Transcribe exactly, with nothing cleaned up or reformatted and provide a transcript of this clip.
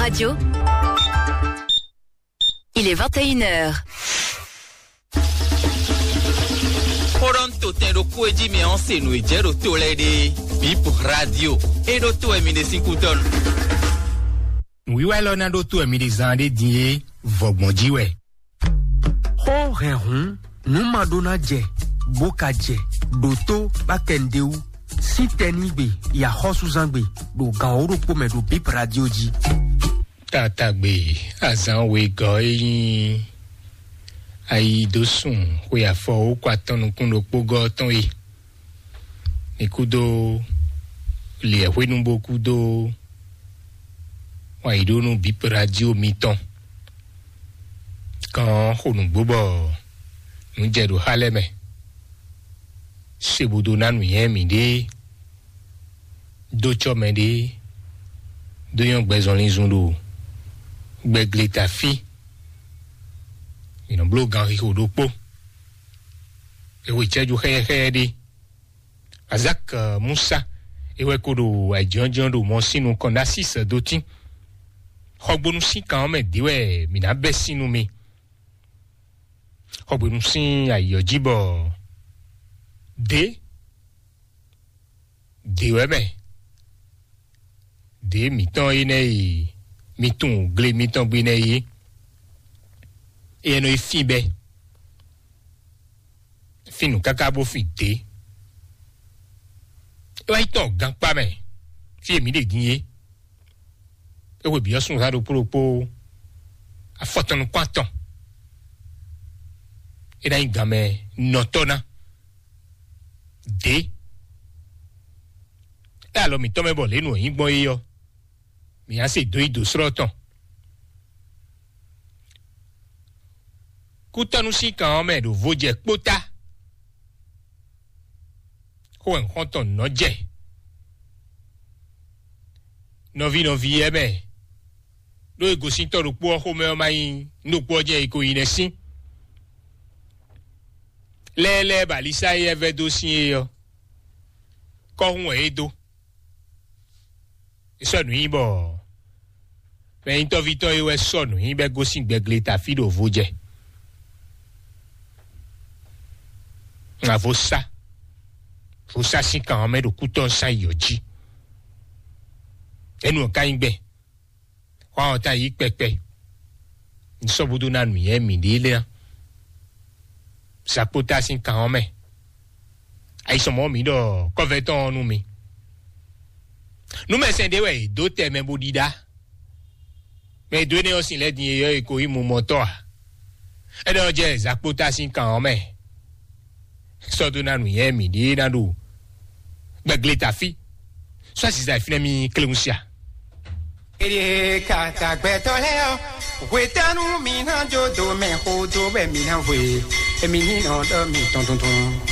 Radio. Il est vingt et une heures. Xó ɖɔ un to tɛn ɖokpó e jí mɛ ɔ́ se nǔ e jɛ ɖo to lɛ́ɛ ɖe. Bip Radio. E ɖo to wɛ mi ɖe sín kútɔ́nu. Nǔwiwa élɔ́ ná ɖó to wɛ mi ɖe zán ɖé din é, vɔ̌gbɔn jí wɛ. Xó hɛn hǔn, nǔ ma ɖó ná jɛ, bó ka jɛ, ɖo tó bá kɛ nǔɖé wú. Sín tɛnígbe, yi axɔ́súzángbe, ɖo gan wǒ ɖokpó mɛ ɖo Bip Radio jí. Tatagbe azǎn wegɔ́ e nyí ayi dó sun xwe afɔ wǒ kɔ atɔn nukún ɖokpó gɔ́ tɔn e. Mi kúdó liɛ̌xwénu bó kúdó wǎn yí ɖó nú Bip Radio mitɔn. Kan xo nǔgbó bɔ nǔ jɛ ɖo xá lɛ́ɛ mɛ. Se bó dó ná nǔnywɛ́ mǐɖée, dó cɔ́ mɛɖée, dó nyɔ́ gbɛzɔnlínzun ɖo gbɛgleta fí. Mǐ nɔ bló ganxixo ɖokpó. È xwe cɛ́jú xɛ́yɛ́xɛ́yɛ́ ɖé. Azak Musa é wɛ ko ɖo ayǐjínjɔ́n ɖo mɔ sín nukɔn ná sísɛ dó tín. Xɔgbónú sín kan ɔ́ mɛ dě wɛ mǐ ná bɛ́ sín nú mi. Xɔgbónú sín ayǐ ɔ́ jí bɔ dě dě wɛ mɛ dě mǐtɔn énɛ́ e mi tunwun gle mitɔn gbe nɛ́ é, é nɔ yi fín bɛ́. Fín nǔ káká bó fin dě. É wá yi tɔn gankpá mɛ, fí e mǐ ɖe din é. É hwe bǐ ɔ́ súnnu xá ɖokpó ɖokpó afɔtɔn nukún atɔn. É ná nyí ganmɛ nɔtɔ́ ná. Dě. É alɔ mǐtɔn mɛ bɔ lě nu ɔ́ nyí gbɔn é ɔ́, mǐ ná se dó yi dǒ slɔ́ tɔn. Kútɔ́nú sín kan ɔ́ mɛ ɖo vo jɛ kpótá. Xó wɛ xɔ́ntɔn nɔ́ jɛ. Nɔví nɔví yɛ́ mɛ ɖó e gosín tɔ́ ɖokpó ɔ́ xomɛ ɔ́ má nyí nú ɖokpó ɔ́ jɛ e ko yi nɛ́ sín. Lɛ́ɛ lɛ́ɛ ba Lisa e yɛ vɛ́ dó sín é ɔ́, kɔ́hún wɛ é dó. É sɔ́ nǔ nyi bɔ mɛ nyitɔ́vítɔ́ é wɛ sɔ́ nǔ nyi bɔ é gosín gbɛgleta fí ɖo vo jɛ. Ŋa vo sá, vo sá sín kan ɔ́ mɛ ɖo kútɔ́ sán yi ɔ́ jí. Énu ɔ́ ka nyí gbɛn. Xɔ ɔ́ ta yí kpɛkpɛ. Un sɔ́ búdó ná nǔnywɛ́ mǐɖée lɛ́ɛ ná. Zakpota sín kan ɔ́ mɛ. Ayisɔmɔ mǐ ɖɔ kɔ́vɛ́tɔ́ ɔ́ nú mi. Nú mɛsɛn ɖé wɛ è dó tɛ mɛ bó ɖíɖá. Mɛ e dó énɛ́ ɔ́ sin lɛ́ɛ din e yɔ è ko nyí mumɔtɔ́ ǎ. Énɛ́ ɔ́ jɛ Zakpota sín kan ɔ́ mɛ. Sɔ́ dó ná nǔnywɛ́ mǐɖée ná ɖo gbɛgleta fí. Sɔ́ ziza fínɛ́ mì kléwúnsia. Ede kata gbɛtɔ lɛ ɔ, hwetɛnu mi na jo do mɛ xo do bɛ mi na hwe, emi ni nɔ dɔ mi tɔn tuntun.